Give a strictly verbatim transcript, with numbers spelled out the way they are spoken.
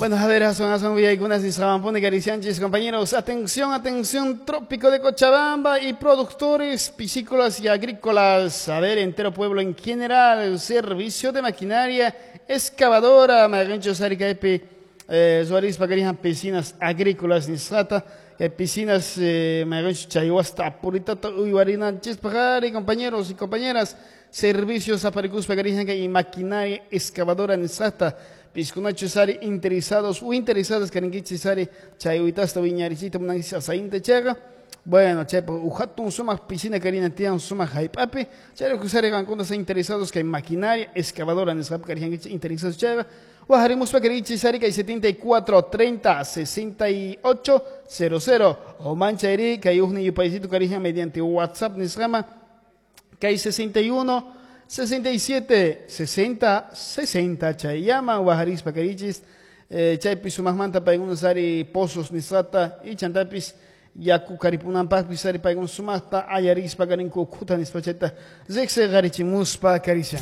Bueno, a ver, son son algunas y Caricianchis, compañeros. Atención, atención, trópico de Cochabamba y productores piscícolas y agrícolas. A ver, entero pueblo en general, servicio de maquinaria excavadora, Magancho Sarica Epi, eh, Suárez Pacarijan, piscinas agrícolas, Nisata, eh, piscinas, eh, Magancho Chayhuasta, Puritata, Uyuarina, Chispajari, compañeros y compañeras, servicios aparicus Pacarijan y maquinaria excavadora, Nisata. Piscunacho sari interesados o interesadas karinkichi sari chayuitasta wiñarichita munanchis asainta chaqa. Bueno, chaypa uhatun sumaq piscina karina tiyan sumaq jallp'api. Chayrayku sari qankuna sa interesados kay maquinaria excavadora nisqapi karijankichis interesados chayqa. Wajarimuspa karikichis sari kay setenta y cuatro treinta sesenta y ocho cero cero o manchayri kay ujni yupaysito karijan mediante WhatsApp nisqama kay sesenta y uno sesenta y siete sesenta sesenta chayama wajarispa karichis, eh, chaypi sumaqmanta paykuna sari pozos nisqata y chantapis yaku karipunanpaqpis sari paykuna sumaqta ayarispa karinku ukhuta nispa chayta riqsiqarichimuspa karishan.